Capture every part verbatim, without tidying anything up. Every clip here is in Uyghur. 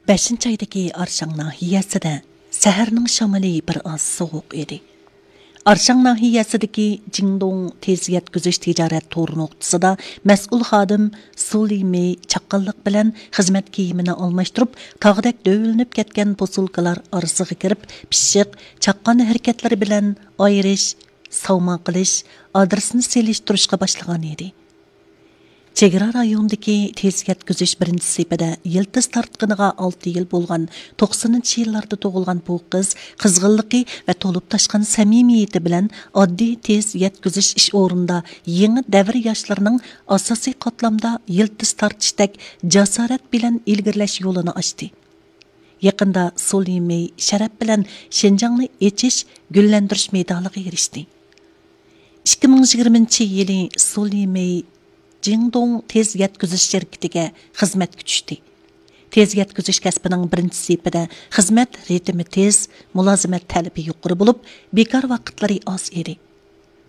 بەشىنچى ئايدىكى ئارشاڭ ناھىيەسىدە سەھەرنىڭ شامىلى بىر ئاز سوغۇق ئىدى. ئارشاڭ ناھىيەسىدىكى جىڭدوڭ تېز يەتكۈزۈش تىجارەت تور نۇقتىسىدا مەسئۇل خادىم سۇ لىمېي چاققانلىق بىلەن خىزمەت كىيىمىنى ئالماشتۇرۇپ، تاغدەك دۆۋىلىنىپ كەتكەن پوسۇلكىلار ئارىسىغا كىرىپ، پىششىق، چاققان ھەرىكەتلىرى بىلەن ئايرىش، ساۋما قىلىش، ئادرېسنى سېلىشتۇرۇشقا باشلىغان ئىدى. چېگرا رايونىدىكى تېز يەتكۈزۈش بىرىنچى سېپىدە يىلتىز تارتقىنىغا ئالتە يىل بولغان توقسىنىنچى يىللاردا تۇغۇلغان بۇ قىز قىزغىنلىقى ۋە تولۇپ تاشقان سەمىمىيىتى بىلەن ئاددىي تېز يەتكۈزۈش ئىش ئورنىدا يېڭى دەۋر ياشلىرىنىڭ ئاساسىي قاتلامدا يىلتىز تارتىشتەك جاسارەت بىلەن ئىلگىرىلەش يولىنى ئاچتى. يېقىندا سۇ لىمېي شەرەپ بىلەن شىنجاڭنى ئېچىش، گۈللەندۈرۈش مېدالىغا ئېرىشتى. ئىككى مىڭ يىگىرمىنچى يىلى سۇ لىمېي جىڭدوڭ تېز يەتكۈزۈش شىركىتىگە خىزمەتكە چۈشتى. تېز يەتكۈزۈش كەسپىنىڭ بىرىنچى سېپىدە خىزمەت رىتىمى تېز، مۇلازىمەت تەلىپى يۇقىرى بولۇپ، بىكار ۋاقىتلىرى ئاز ئىدى.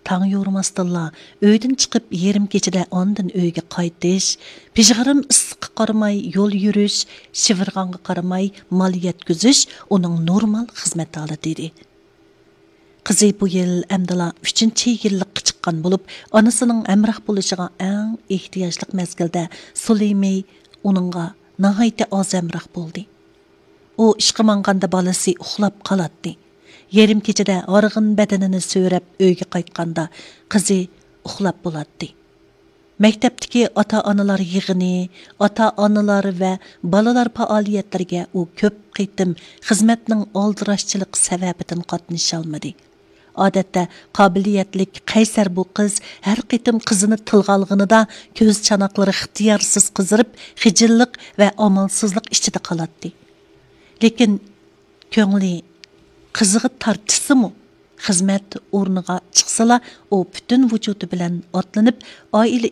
تاڭ يورۇماستىنلا ئۆيدىن چىقىپ، يېرىم كېچىدە ئاندىن ئۆيگە قايتىش، پىژغىرىم ئىسسىققا قارىماي يول يۈرۈش، شىۋىرغانغا قارىماي مال يەتكۈزۈش ئۇنىڭ نورمال خىزمەت ھالىتى ئىدى. قىزى بۇ يىل ئەمدىلا ئۈچىنچى يىللىققا چىققان بولۇپ، ئانىسىنىڭ ھەمراھ بولۇشىغا ئەڭ ئېھتىياجلىق مەزگىلدە سۇ لىمېي ئۇنىڭغا ناھايىتى ئاز ھەمراھ بولدى. ئۇ ئىشقا ماڭغاندا بالىسى ئۇخلاپ قالاتتى. يېرىم كېچىدە ھارغىن بەدىنىنى سۆرەپ ئۆيگە قايتقاندا قىزى ئۇخلاپ بولاتتى. مەكتەپتىكى ئاتا-ئانىلار يىغىنى، ئاتا-ئانىلار ۋە بالىلار پائالىيەتلىرىگە ئۇ كۆپ قېتىم خىزمەتنىڭ ئالدىراشچىلىقى سەۋەبىدىن قاتنىشالمىدى. ئادەتتە قابىلىيەتلىك، قەيسەر بۇ قىز ھەر قېتىم قىزىنى تىلغا ئالغىنىدا كۆز چاناقلىرى ئىختىيارسىز قىزىرىپ، خىجىللىق ۋە ئامالسىزلىق ئىچىدە قالاتتى. لېكىن كۆڭلى قىزىغا تارتىشسىمۇ، خىزمەت ئورنىغا چىقسىلا، ئۇ پۈتۈن ۋۇجۇدى بىلەن ئاتلىنىپ، ئائىلە